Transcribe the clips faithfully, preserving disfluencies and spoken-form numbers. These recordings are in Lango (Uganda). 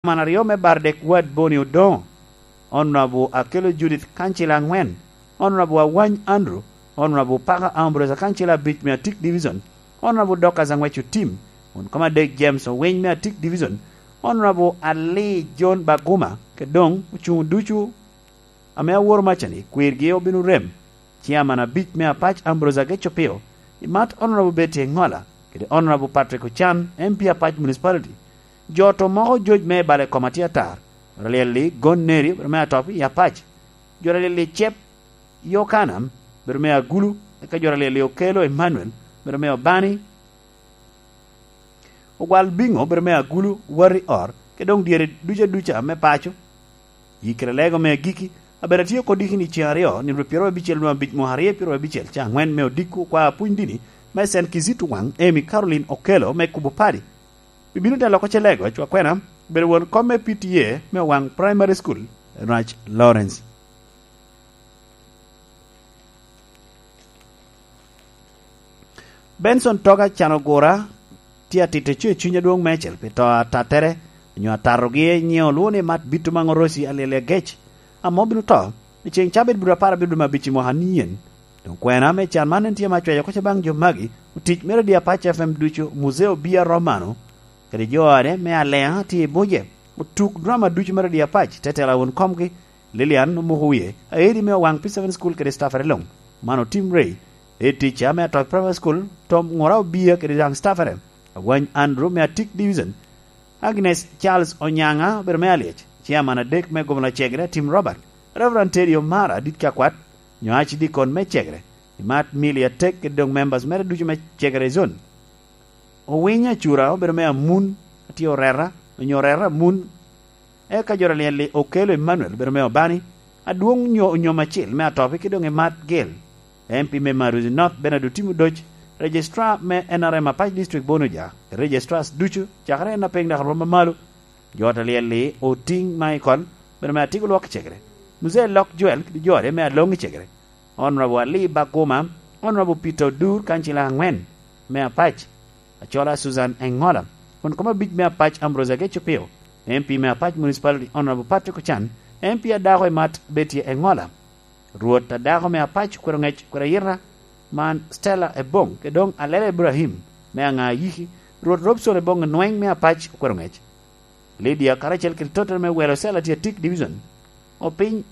Caman aryo me Bardek Ward Boni Odoŋo, Honorable Akello Judith kancila aŋwen, Honorable Awany Andrew, Honorable Parker Ambrose kancila abic me Atik Division, Honorable Dorcas Aŋwec Otim, won kom adek James Owiny me Atik Division, Honorable Ali John Baguma, kede doŋ ocuŋ ducu ame aworo macani, kwirgi obino rem. Ciaman abic me Apac Ambrose Ageco Pio, i mat Honorable Betty Engola, kede Honorable Patrick Ocan, M P Apac Municipality. Jo to moko joc me i bale kom atye atar, jo alyel-li Gon Neri, obedo me Atopi i Apac. Jo alyel-li Cep Yokana, obedo me Agulu, eka jo alyel-li Okelo Emmanuel, obedo me Obani. Ogwal Biŋo, obedo me Agulu, Wari Or, kede doŋ dyere duca duca me paco. Yi kede lego me agikki, abedo atye kodi kini ceŋ aryo, nino pyeraryo abicel nwa abic mwaka aryo pyeraryo abicel, ca aŋwen me odiko kwa apuny dini me Saint Kizito Wang, Amy Caroline Okello me kubo padi. Bibino te loko ce lego, cwa kwena, bedo won kom me P T A me Wang Primary School, Rac Lawrence. Benson Toga Canogura tye atito co i cuny adwoŋ meicel pi to atattere, onyo atatogi i nyiŋe olwoŋo ni Mat Bito Maŋ Oroci Alyel Agec, ame obino to i ceŋ cabit bur apar abiro dwe me abic i mwaka nien. Doŋ kwena me can man en tye ame acweco oko ce baŋ jo magi, otic me Radio Apac F M ducu, Muzeo Bia Romano, kede jo ode me Aleŋa tye i buce, otuk drama ducu me Radio Apac, te tela won komgi, Lilian Omuko Wie, aedi me Owaŋ P seven School kede staffere luŋ. Man otimre i ticca me Atɔc Primary School, Tom Ŋura Obia kede daŋ staffere, Awany Andrew me Atik Division, Agnes Charles Onyaŋa obedo me Alyec, Chairman adek me Gomla Cegre, Tim Robert, Reverend Teddy Omara, dit kakwat, nyo Archdeacon me Cegre, Imat Mili Atek kede doŋ members mere ducu me Cegre Zone. Owiny Acura obedo me Amun, atye Orera, onyo Orera Amun, eka jo alyel-li Okello Emmanuel obedo me Obani, adwoŋ nyo onyom acil me Atopi ki doŋ Imat Gil, M P me Maruzi North Bernard Otim Odoc, Registrar me N R M Apac District Bonoja, Registrars ducu, cakere en apiny dok arwom amalo, jo ot alyel-li Oting Michael, obedo me Atigo Lwok Cegere, Muzee Lok Joel kede jo ode me Aloŋ i Cegere, Honorable Ali Baguma, Honorable Peter Odur, kancila aŋwen me Apac, Acola Susan Engola, won kom abic me Apac Ambrose Ageco Pio, M P me Apac Municipality Honorable Patrick Ocan, M P adako Imat Betty Engola, Rwot adako me Apac okwero ŋec okwero ayita, man Stella Ebong, kede doŋ Alela Ibrahim me Aŋa Ayiki, Rwot Robson Ebong Enweng me Apac okwero ŋec. Lydia karacel kede tottere me Welo Cell Atyatik Division, Opiny,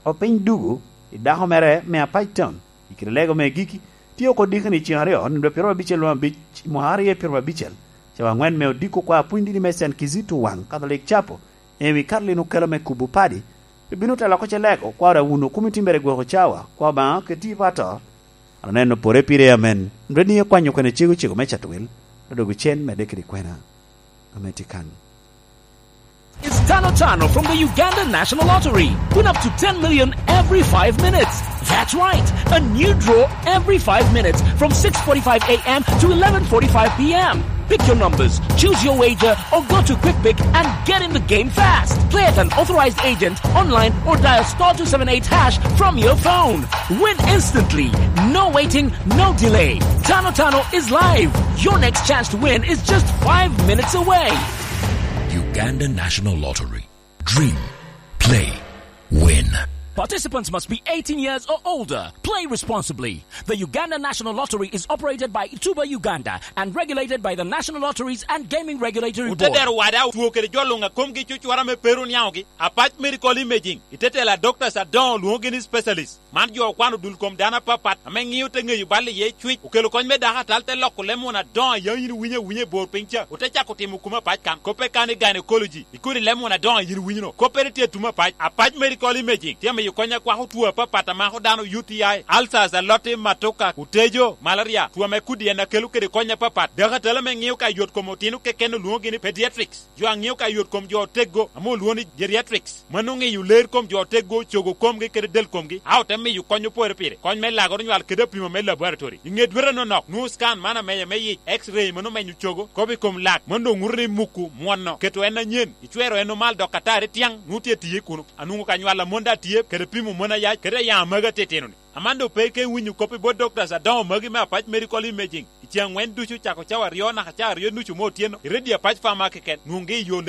Opiny Dugu, i dako mere me Apac Town, i kite lego me agikki, tye oko dikoni ceŋ aryo, nino pyeraryo abicel lwom abic, mwaka aryo pyeraryo abicel, cawa aŋwen me odiko kwa apwony dini me Saint Kizito Wang Catholic Chapel, Amy Caroline Okello me kubo padi, ebino telo oko ce lego, kwa ora wun okumi timbere gwoko cawa, kwa Obaŋa keti i pato. Aneno pore pire, amen. Ndweni ekwanyo kwene cego cego me cato wil, odogo cen medde kede kwena. Ame tye kan. Is Tano Tano from the Uganda National Lottery. Win up to ten million every five minutes. That's right, a new draw every five minutes from six forty-five a m to eleven forty-five p m. Pick your numbers, choose your wager, or go to Quick Pick and get in the game fast. Play at an authorized agent, online, or dial star two seven eight hash from your phone. Win instantly. No waiting, no delay. Tano Tano is live. Your next chance to win is just five minutes away. Uganda National Lottery. Dream, play, win. Participants must be eighteen years or older. Play responsibly. The Uganda National Lottery is operated by Tuba Uganda and regulated by the National Lotteries and Gaming Regulatory Board. Otedero wada otwo kede jo luŋ a komgi cucwara me peru niaŋogi, Apac Medical Imaging, itetela doctors adoŋo lwoŋogi ni specialist. Man jo okwano dul kom dano apapat ame ŋio te ŋeyo bal iye cwic, okelo kony me dako atal te loko lem won adoŋo a yam yin iwinyo awinya i bor piny ca, ote cako timo kuma pac kan, koppe kan i gynecology, i kodi lem won adoŋo a yin iwinyo-no. Koppere tye atum apac, Apac Medical Imaging tye amiyo kony akwako two apapat a mako dano, U T I, ulcers, aloti, matoka, otejo, malaria, two ame kudi en akelo kede kony apapat. Dako atal ame ŋio ka yot kom otino keken olwoŋogi ni pediatrics. Jo a ŋio ka yot kom jo oteggo ame olwoŋo ni geriatrics, mano ŋeyo ler kom jo oteggo, cogo komgi kede del komgi, a ote miyo kony opore pire, kony me lago nywal kede apimo me laboratory. I ŋe dwete anonok, nwoŋo scan man amenya me yic, X-ray mano menyo cogo, kop i kom lak, mano doŋ ŋuto ni muku mwono, keto en anyen, icwero en omal dok atari tyaŋ, nwoŋo tye tiye kuno. Anwoŋo ka nywal a mon daŋ tye, kede pimo mon ayac, kede ayaŋ amagi atitino-ni. Amando pe ka iwinyo kop i bot doctors adoŋo magi me Apac Medical Imaging, i Ceŋ wen ducu cako cawa aryo naka cawa aryo nucu me otyeno, i redio apac fama keken, nwoŋgi i yo lel